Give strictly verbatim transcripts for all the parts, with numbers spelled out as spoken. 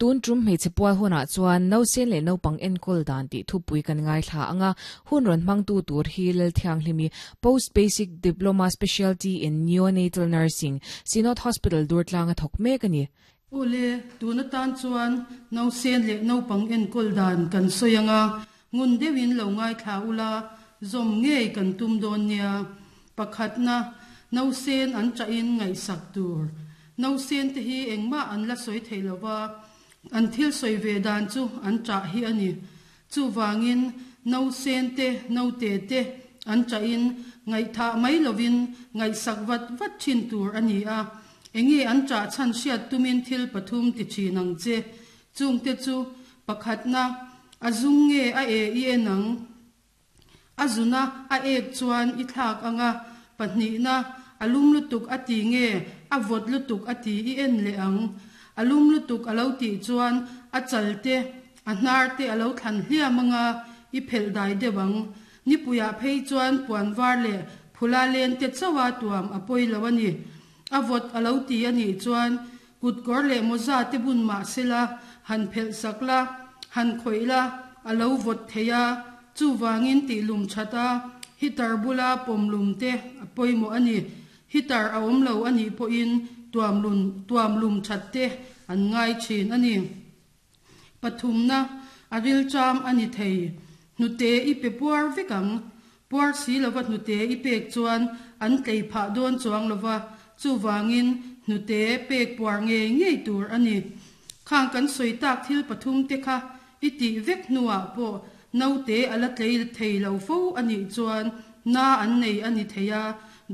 Tun tum hmeichhe pual hunah chuan nausen leh naupang enkawl dan tih thupui kan ngaithla anga hun rawn hmangtu tur hi Lalthianghlimi Post Basic Diploma Specialty in Neonatal Nursing Synod Hospital Durtlang a thawk mek a ni. Awle, tuna tan chuan nausen leh naupang enkawl dan kan sawi anga ngun deuhin lo ngaithla ula zawm ngei kan tum dawn nia. Pakhatna nausen an chahin ngaihsak tur. Nausen te hi engmah an la sawi thei lova an thil sawi ve dan chu an chah hi ani. Chu wangin nausen te naute te an chahin ngaihtha mai lovin ngaihsak vat vat thin tur ani a. Enge an chah chan hriat tumin thil pathum ti thin ang che. Chung te chu pakhatna a zum nge a e i enang. A zuna a ek chuan i thlak anga. Pahnihna a lum lutuk a ti nge a vawt lutuk a ti i en leh ang. A lum lutuk a lo tih chuan a chal te a hnar te a lo thlan hliam anga i phelh dai deuh ang. Nipuia phei chuan puan var leh phula len te chawa tuam a pawi lo ani. A vawt a lo ti ani chuan kutkawr leh mawza te bun mah sela han phelh sak la han khawih la a lo vawt thei a. Chu wangin tih lum thata heater bula pawm lum te a pawimawh ani. Heater a awm lo ani pawhin tuam lun tuam lum that te an ngai thin ani. Pathumna a ril cham ani thei. Hnute i pe puar vek ang. Puar si lova hnute i pek chuan an tlei phah dawn chuang lova. Chu wangin hnute pek puar ngei ngei tur ani. Khang kan sawi tak thil pathum te kha i tih vek hnuah pawh naute a la tlei thei lo fo ani chuan na an nei ani thei a.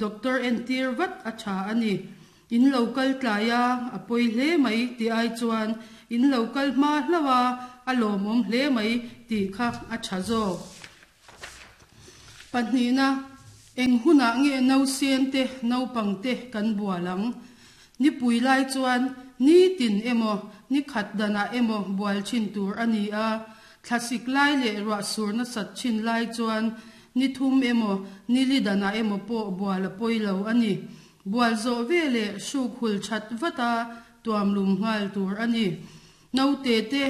Doctor entir vat a tha ani. In local tlaya a pawi hle mai ti ai chuan in local hma hlawa a lawmawm hle mai tih kha a tha zawk. Pahnihna eng hunah nge nausen te naupang te kan bual ang. Nipui lai chuan ni tin emaw ni khat danah emaw bual thin tur ani a. Thlasik lai leh ruah sur na sat thin lai chuan ni thum emaw ni li danah emaw pawh bual a pawi lo ani. Bual zawh ve leh hruk hul that vata tuam lum nghal tur ani. Naute te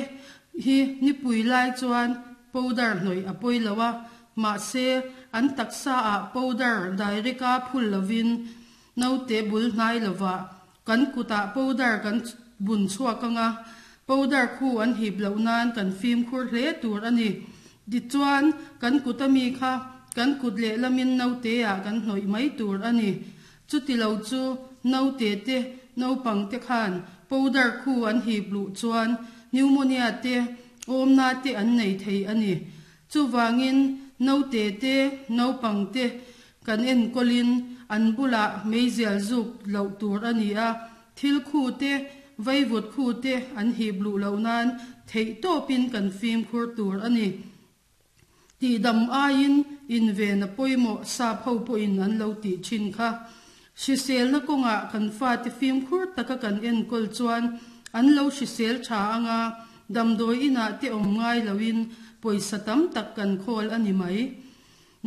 hi nipui lai chuan powder hnawih a pawi lo a. Mahse an taksa ah powder direct a phul lovin naute bul hnai lova kan kutah powder kan bun chhuak anga powder khu an hip loh nan kan fim khur hle tur ani. Tichuan kan kut ami kha kan kut leh lamin naute ah kan hnawih mai tur ani. Chuti lo chu naute te naupang te khan powder khu an hip luh chuan pneumonia te awmna te an nei thei ani. Chuwangin naute te naupang te kan enkawlin an bulah meizial zuk loh tur ani a. Thil khu te vaivut khu te an hip luh loh nan theih tawpin kan fim khur tur ani. Ti dam aiin in ve na pawimawh sap ho pawhin an lo tih thin kha. Hrisel na kawngah kan fa te fim khur taka kan enkawl chuan an lo hrisel tha anga damdawi inah te awm ngai loin pawisa tam tak kan khawl ani mai.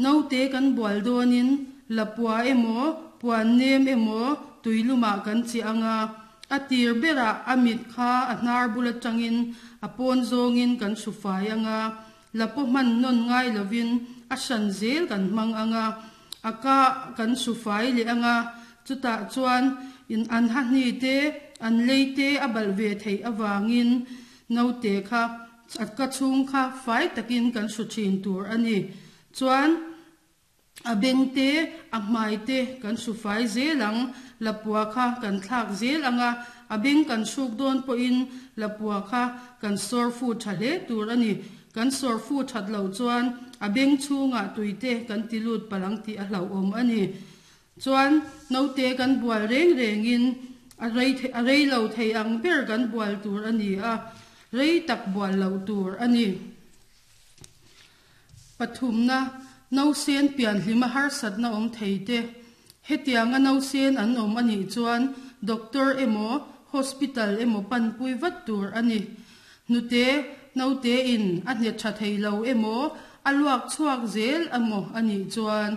Naute kan bual dawnin lapua emaw puan nem emaw tuilumah kan chi anga a tir berah a mit kha a hnar bul atangin a pawn zawngin kan hrufai anga lapaw hman nawn ngai lovin a hran zel kan hmang anga a ka kan hrufai leh anga. Chutah chuan in an ha hni te an lei te a balh ve thei awangin naute kha a ka chhung kha fai takin kan hru thin tur ani. Chuan a beng te a hmai te kan hrufai zel ang. Lapua kha kan thlak zel anga a beng kan hruk dawn pawhin lapua kha kan sawr fu tha hle tur ani. Kan sawr fu that loh chuan a beng chhungah tuite kan ti lut palang tih a hlauhawm ani. Chuan naute kan bual reng rengin a rei a rei lo thei ang ber kan bual tur ani a. Rei tak bual loh tur ani. Pathumna nausen pian hlima harsatna awm thei te. Hetianga nausen an awm ani chuan doctor emaw hospital emaw pan pui vat tur ani. Hnute naute in a hne tha thei lo emaw a luak chhuak zel emaw ani chuan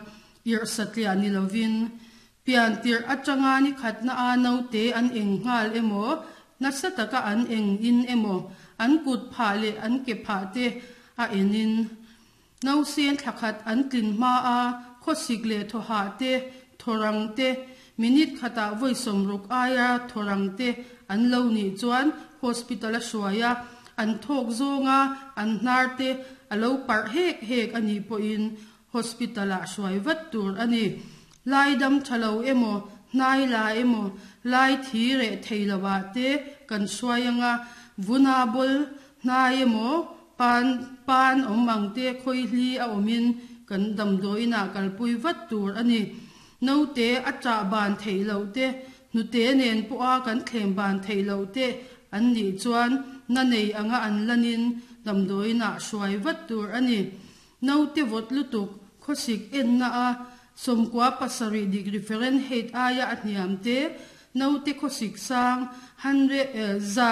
irh satliah ni lovin pian tir atanga ni khatna a naute an eng nghal emaw nasa taka an eng in emaw an kut pha le an ke pha te a enin nausen thlakhat an tlin hma a khawsik le thawha te thorang te minute khata voi somruk aia thorang te an lo ni chuan hospital a hruaia an thawk zawnga an hnar te alo par hek hek ani pawhin hospital a hruai vat tur ani lai dam thalo emaw hnai la emaw lai thi re theilowa te kan hruai anga vuna bol hnai emaw pan pan awm ang te khawi hli a awmin kan damdawiin ah kalpui vat tur ani naute a chah ban theilo te hnute nen pawha kan thlem ban theilo te an nih chuan na nei anga an lanin damdawiin ah hruai vat tur ani naute vawt lutuk khawsik en na a sawmkua pasarih degree Fahrenheit aia a hniam te naute khawsik sang hundred za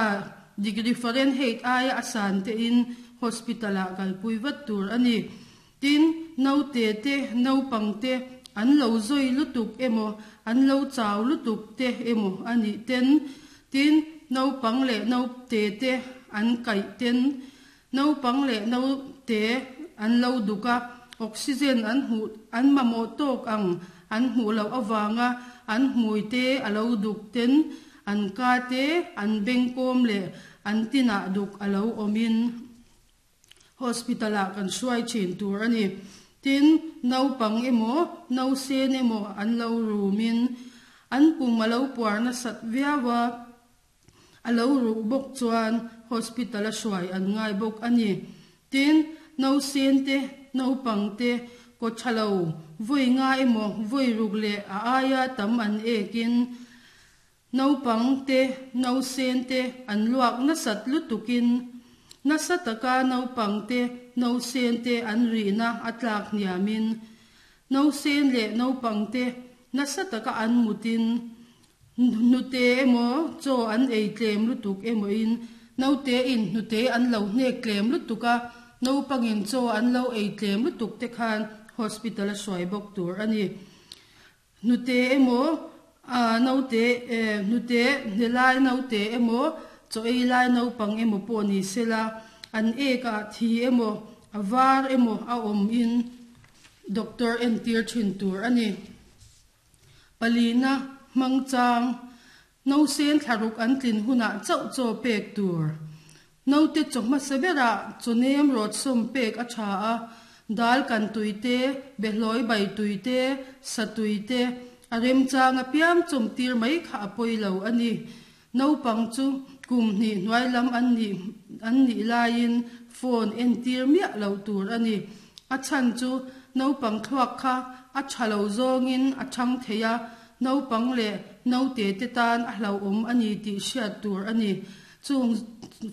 degree Fahrenheit aia a san te in hospital ah kalpui vat tur ani tin naute te naupang te an lo zui lutuk emaw an lo chau lutuk te emaw ani ten tin naupang leh naute te an kaih ten naupang leh naute an lo duka oxygen an hmu an mamawh tawk ang an hmuh loh awanga an hmui te alo duk ten an ka te an bengkawm leh an tinah duk alo awmin hospital ah kan hruai thin tur ani tin naupang emaw nausen emaw an lo rumin an pum alo puar nasat viawa alo ruh bawk chuan hospital a hruai an ngai bawk ani tin nausen te naupang te kaw thalo voi nga emaw voi ruk leh a aia tam an ekin naupang te nausen te an luak nasat lutukin nasa taka naupang te nausen te an rihna a tlak hniamin nausen leh naupang te nasa taka an mutin hnute emaw chaw an ei tlem lutuk emaw in naute in hnute an lo hnek tlem lutuka naupangin chaw an lo ei tlem lutuk te khan hospital a hruai bawk tur ani hnute emaw a naute hnute hnelai naute emaw chaw ei lai naupang emaw pawh ni sela an ek ah thi emaw a var emaw a awm in doctor entir thin tur ani palina hmangchang nausen thlaruk an tlin hunah chauh chaw pek tur naute chaw hmasa berah chawnem rawt sawm pek a tha a dal kan tuite behlawi bai tuite sa tuite a remchang a piang chawm tir mai kha a pawilo ani naupang chu kum hnih hnuai lam an nih an nih laiin phone entir miah lo tur ani a chhan chu naupang thluak kha a thalo zawngin a thang thei a naupang leh naute te tan a hlauhawm ani tih hriat tur ani chung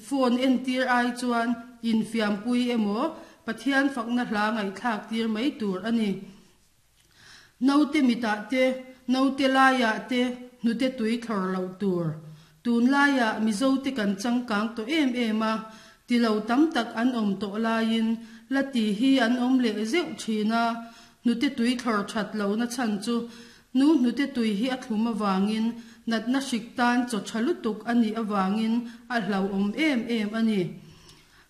phone entir ai chuan infiampui emaw Pathian fakna hla ngaihthlak tir mai tur ani naute mitah te naute laiah te hnute tui thlawr loh tur tun laiah mizo te kan changkang tawh em em a tilo tam tak an awm tawh laiin la ti hi an awm leh zeuh thin a hnute tui thlawr that lo na chhan chu nu hnute tui hi a thlum awangin natna hrik tan chaw tha lutuk ani awangin a hlauhawm em em ani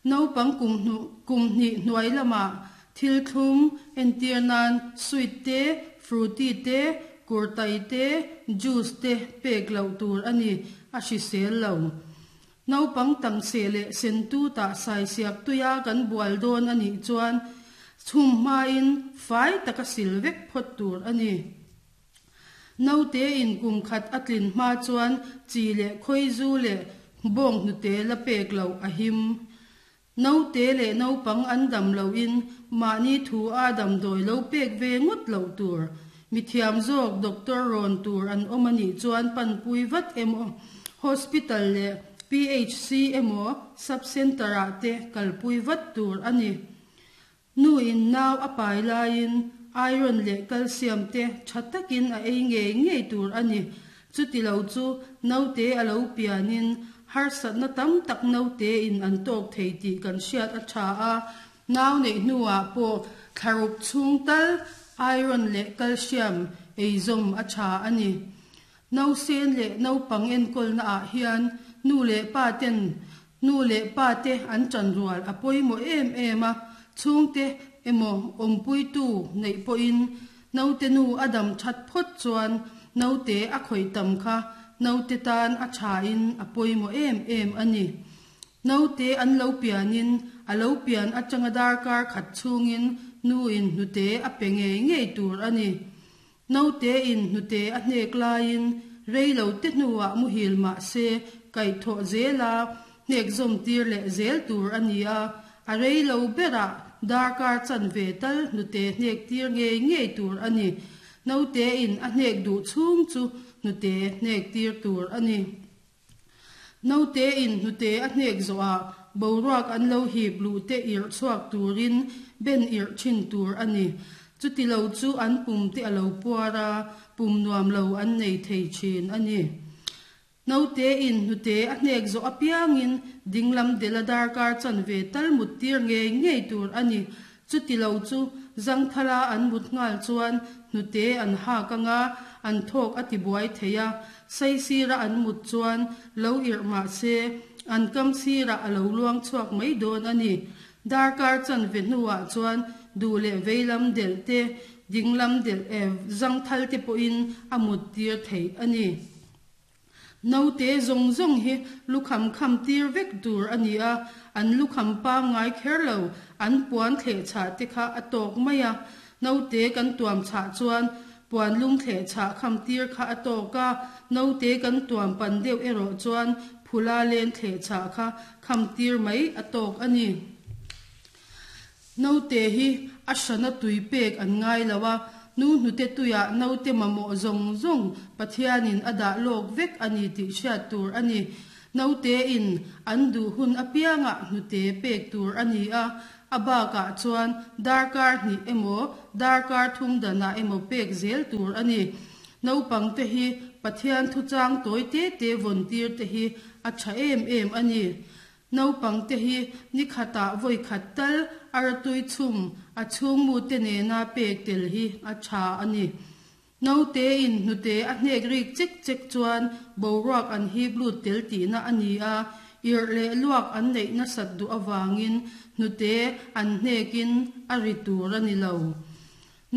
naupang kum hnu kum hnih hnuai lamah thil thlum entir nan sweet te fruity te kurtai te juice te pek loh tur ani a hrisel lo naupang tam se leh sentu tah sai siak tuia kan bual dawn ani chuan chhum hmain fai taka sil vek phawt tur ani naute in kum khat a tlin hma chuan chi leh khawi zu leh bawng hnute la pek lo a him naute leh naupang an dam lo in mahni thu a damdawi lo pek ve ngawt lo tur mithiam zawk doctor rawn tur an awm ani chuan panpui vat emaw hospital leh P H C emaw sub center ah te kalpui vat tur ani nu in nau a pai laiin iron leh calcium te tha takin a ei ngei ngei tur ani chuti lo chu naute alo pianin harsatna tam tak naute in an tawk thei tih kan hriat a tha a nau nei hnuah pawh thlaruk chhung tal iron leh calcium ei zawm a tha ani nausen leh naupang enkawlna ah hian nu le pa ten nu le pa te an chan rual a pawimawh em em a chhungte emaw awmpui tu neih pawhin naute nu a dam that phawt chuan naute a khawih tam kha naute tan a tha in a pawimawh em em ani. Naute an lo pianin a lo pian atanga darkar khat chhungin nu in hnute a pe ngei ngei tur ani. Naute in hnute a hnek laiin reilo te hnuah muhil ma se kai tho zela hnek zawm tir leh zel tur ani a a reilo berah darkar chan ve tal hnute hnek tir ngei ngei tur ani. Naute in a hnek duh chhung chu hnute hnek tir tur ani. Naute in hnute a hnek zawhah boruak an lo hip lu te ir chhuak turin ben ir thin tur ani. Chuti lo chu an pum te a lo puara pum nuam lo an nei thei thin ani. Naute in hnute a hnek zawh apiangin dinglam dela darkar chan ve tal mut tir ngei ngei tur ani. Chuti lo chu zangthala an mut ngal chuan hnute an hak anga an thawk a tibuai thei a saisira an mut chuan lo ir ma se an kam sira a lo luang chhuak mai dawn ani. Darkar chan ve hnuah chuan du leh veilam del te dinglam del e zangthal te pawhin a mut tir thei ani. Naute zawng zawng hi lukham kham tir vek tur ani a an lukham pangngai kher lo an puan thleh chah te kha a tawk mai a naute kan tuam chah chuan puan lung thleh chah kham tir kha a tawk a naute kan tuam pan deuh erawh chuan phula len thleh chah kha kham tir mai a tawk ani. Naute hi a hrana tui pek an ngai lo a nu hnute tuiah naute mamawh zawng zawng Pathianin a dah lawk vek ani tih hriat tur ani. Naute in an duh hun apiangah hnute pek tur ani a a bakah chuan darkar hnih emaw darkar thum danah emaw pek zel tur ani. Naupang te hi Pathian thuchang tawi te te vawn tir te hi a tha em em ani. Naupang te hi ni khatah vawi khat tal aratui chhum a chhung mu te nena pek tel hi a tha ani. Naute in hnute a hnek rik chek chek chuan boruak an hip lut tel tihna ani a ir leh luak an neih nasat duh awangin hnute an hnekin a ri tur ani lo.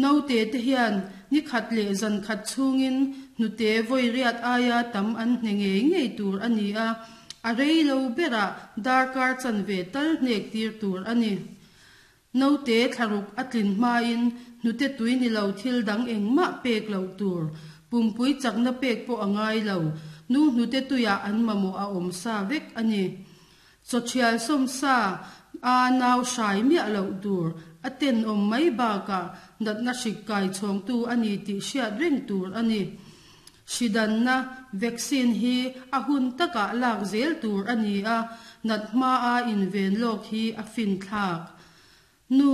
Naute te hian ni khat leh zan khat chhungin hnute vawi riat aia tam an hne ngei ngei tur ani a a reilo berah darkar chan ve tal hnek tir tur ani. Naute thlaruk a tlin hmain hnute tui ni lo thil dang engmah pek lo tur pumpui chakna pek pawh a ngai lo nu hnute tuiah an mamawh a awm sa vek ani. Chawṭhial sawm sa a nau hrai miah loh tur a ten awm mai bakah natna hrik kai chhawngtu ani tih hriat reng tur ani. Hridanna vaccine hi a hun takah lak zel tur ani a nat hma a inven lawk hi a fin thlak. Nu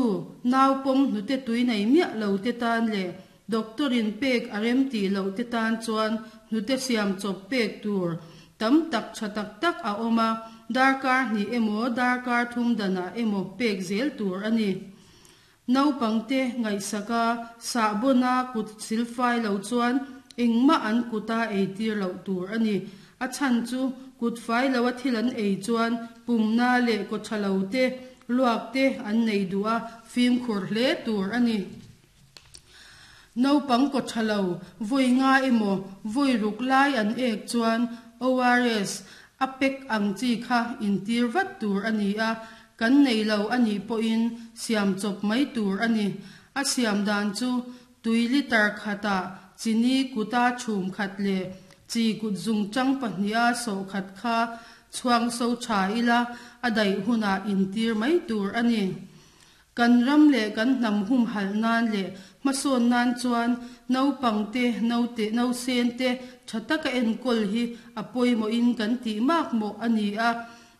nau pawm hnute tui nei miah lo te tan leh doctorin pek a rem tih loh te tan chuan hnute siam chawp pek tur tam tak tha tak tak a awm a darkar hnih emaw darkar thum danah emaw pek zel tur ani. Naupang te ngaihsaka sahbawna kut silfai lo chuan engmah an kuta ei tir loh tur ani. A chhan chu kut fai lo a thil an ei chuan pumna leh kawṭha lo te luak te an nei duh a fimkhur hle tur ani. Naupang kawṭha lo vawi nga emaw vawi ruk lai an ek chuan O R S a pek ang chi kha intir vat tur ani a kan nei lo ani pawhin siam chawp mai tur ani. A siam dan chu tui liter khatah chini kuta chhum khat leh chi kut zung chang pahnih a sawh khat kha chhuang so tha ila a daih hunah intir mai tur ani. Kan ram leh kan hnam hum halh nan leh hmasawn nan chuan naupang te naute nausen te tha taka enkawl hi a pawimawhin kan tih mak mawh ani a.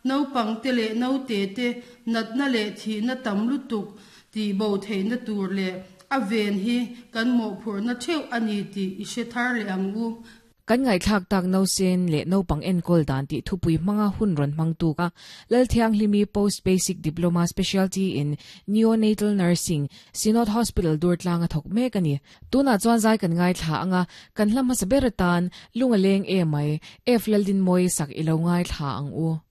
Naupang te leh naute te natna leh thihna tam lutuk tih bo theihna tur leh a ven hi kan mawhphurhna theuh ani tih i hre thar leh ang u. Kan ngai thlak tak no sen le naupang enkawl dan ti thupui hmanga hun ron hmang tu ka Lalthianghlimi Post Basic Diploma Specialty in Neonatal Nursing Synod Hospital Durtlang a thok mek ani tuna chuan zai kan ngai thla anga kan hlam hmasa ber atan lungaleng e mai F Laldin Moi sak ilo ngai thla ang u.